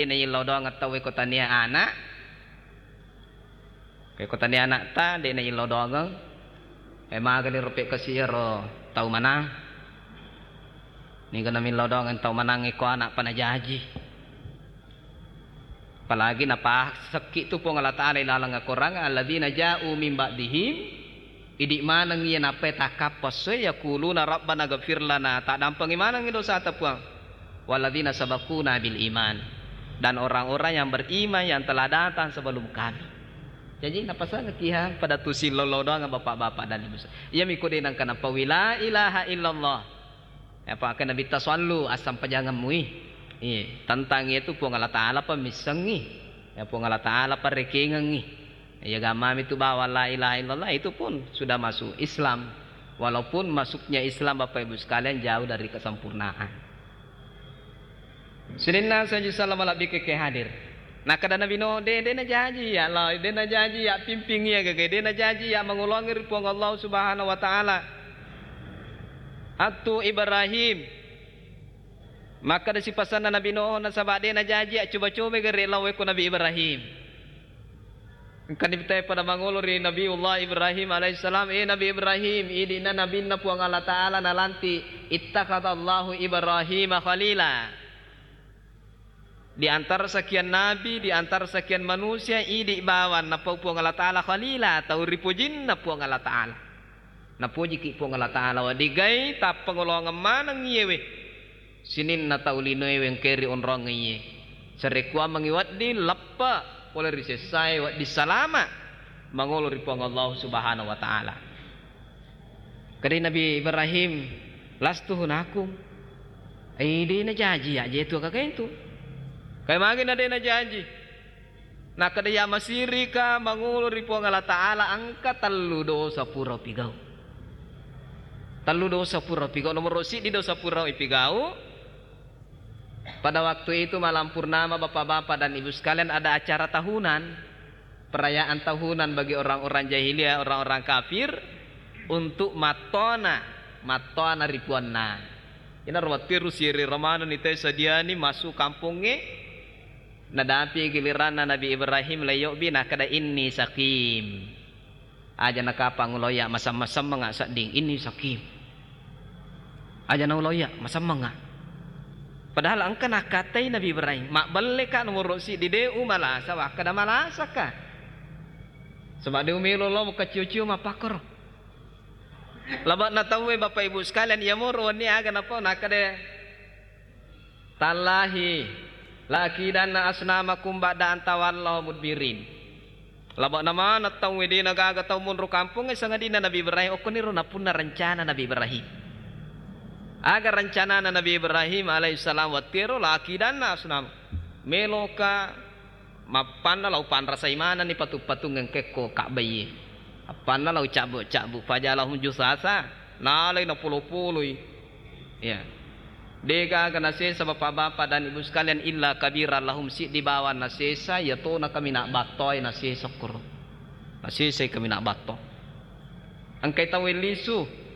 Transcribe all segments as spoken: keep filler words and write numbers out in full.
naillau doangeng tauwe ko tania ana'. Ko tania ana'ta, de' naillau doangeng. E, magani ro pekkasi iyaro tau manang. Niga namillau doangeng tau manang e ko ana' pa najaji. Apalagi napasekki tu Puang Allah Ta'ala ilaleng Al-Quran, "Alladzina ja'u min ba'dihim", idi' maneng iya nappai takkappa essoe, "yaquluna rabbana ghfir lana", taddampengi manengngi dosata Puang, "walladzina sabaquna bil iman", dan orang-orang yang beriman yang telah datang sebelum kami. Jaji napasengekkiha pada tu sillau-lau doangeng bapak-bapak dan ibu. Iyami ko de' nengka napaui la ilaha illallah. Apa ke Nabitta, "Sallu, assampajangemmu i." Iya, tentang itu Puang Allah Ta'ala pa missengngi. Ya, Puang Allah Ta'ala pa rekengengngi. Ya, gammami tu bawa la ilaha illallah itu pun sudah masuk Islam. Walaupun masuknya Islam, Bapak Ibu sekalian, jauh dari kesempurnaan. Sininna saji salama labbi ke hadir. Nakkeda Nabi Nuh, "De', de' najaji ya Allah, de' najaji ya pimping iya gage, de' najaji ya mangoloangi ri Puang Allah Subhanahu wa Ta'ala." Attu Ibrahim. Makkeda sipasanna Nabi Nuh, nasaba de' najaji ya coba-coba gare lawe ko Nabi Ibrahim. Engkani bitai pada mangolo ri Nabiullah Ibrahim alaihissalam, "Eh Nabi Ibrahim, idi'na nabinna Puang Allah Ta'ala nalanti, ittakhadallahu Ibrahima khalila." Di antara sekian nabi, di antara sekian manusia, idi' bawang napau Puang Allah Ta'ala khalila, tau ripojinna Puang Allah Ta'ala. Napojiki Puang Allah Ta'ala, wedding gai tappangoloangeng maneng iyewe. Sininna tau linoe wengkeri onrong iye. Sarekkuammengngi wedding leppe pole ri sessae, wedding salama mangolo ri Puang Allah Subhanahu wa Ta'ala. Kedai Nabi Ibrahim, "Lastu hunakum." Ai, de' najaji ya je tu kakaentu. Kai magi na de' najaji. Nakkeda ya masirika mangolo ri Puang Allah Ta'ala engka tellu dosa pura pigau. Tellu dosa pura pigau. Nomor siddi dosa pura ipigau. Pada waktu itu malam purnama, Bapak-bapak dan Ibu sekalian, ada acara tahunan, perayaan tahunan bagi orang-orang jahiliyah, orang-orang kafir, untuk mattona, mattona ri puanna. Ina ro wattiru siri romana ni te sadiani masuk kampongnge, nadapi giliranna Nabi Ibrahim laiyobbi, nakkeda, "Inni sakim." Aja nakapang uloya masemmeng-semmengnga sedding, "Inni sakim." Aja nauloya masemmengnga. Padahal engka nakkatai Nabi Ibrahim, "Mabbelleka nomoro siddi, de' umalasa, wakkeda malasaka. Saba de' umelo lo mukaccio-cio mappakkoro." Laba'na tauwe, Bapak Ibu sekalian, iya moro wenni aga napau nakkeda, "Tallahi la akidanna asnamakum ba'da an tawallau mudbirin." Laba'na maneng tauwe, de' nagaga tau monro kampongnge sangadinna Nabi Ibrahim, okkoniro napunna rencana Nabi Ibrahim. Aga rencanana Nabi Ibrahim alaihissalam wattiero, "La akidanna asnam." Meloka mappanna lao panrasai manenni patung-patung engkekko Ka'baie. Appanna lao cabbu-cabbu, fajalahum jusasa, nalai napolo-poloi. Ya. Degaga nasesa bapak-bapak dan ibu sekalian illa kabira lahum, siddi bawang nasesa, iya tona kaminang battoe nasesa koro. Nasesai kaminang batto. Engkai tauwe lisu.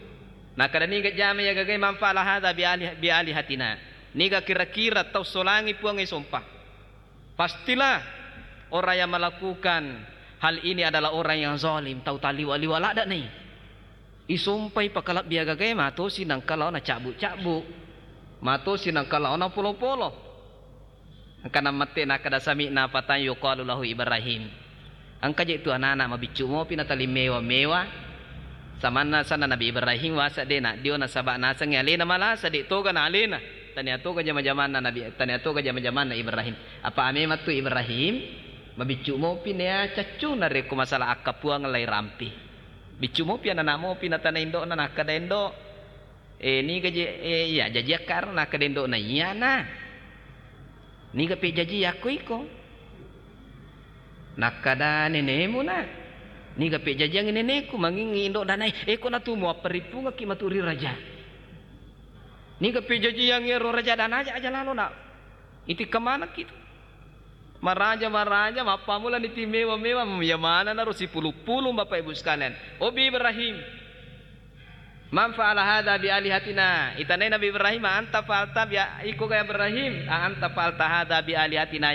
Nakkeda niga jama iya gagai manfaat hadza bi alih-, bi alihatina. Niga kira-kira tau solangi Puang e sompa. Pastilah orang yang melakukan hal ini adalah orang yang zalim, tau taliwa-liwa ladda nai. Isompai pakalebbi agagae matosi nangka lao nacabbu-cabbu. Matosi nangka lao napolo-polo. Engka namette nakkeda sami'na fatan yuqalu lahu Ibrahim. Engka je tu anana mabiccu mopi natalimmewa-mewa. Samanna sanna Nabi Ibrahim wasa de naddio nasaba nasengnge alena malasa, de toga na alena. Tania toga jama-jamanna Nabi, tania toga jama-jamanna Ibrahim. Apa amemang tu Ibrahim mabiccu mopi nea caccu narekko masalah akkapuang lai rampi. Biccu mopi anana mopi natana indo'na nakkeda indo, "Eh, niga je, eh, iya jaji akkaro?" Nakkeda indo'na, "Iyana." "Niga pejjaji yakko iko?" Nakkeda nenemu na. "Niga pejjajiangngi neneku?" Mangingngi indo'na nai, "Eh, ko natu muapparippungekki matu ri raja. Niga pejjajiangngi ero raja danaja aja lalo na. Itikka manekki tu." Maraja-maraja, mappamulani ti mewa-mewa, iya manenna ro sipulung-pulung, Bapak Ibu sekalian. Obi Ibrahim, "Man fa'ala hadza bi alihatina?" Itanai Nabi Ibrahim, "A anta fa'alta bi a-, iko ga Ibrahim? A anta fa'alta hadza bi alihatina?"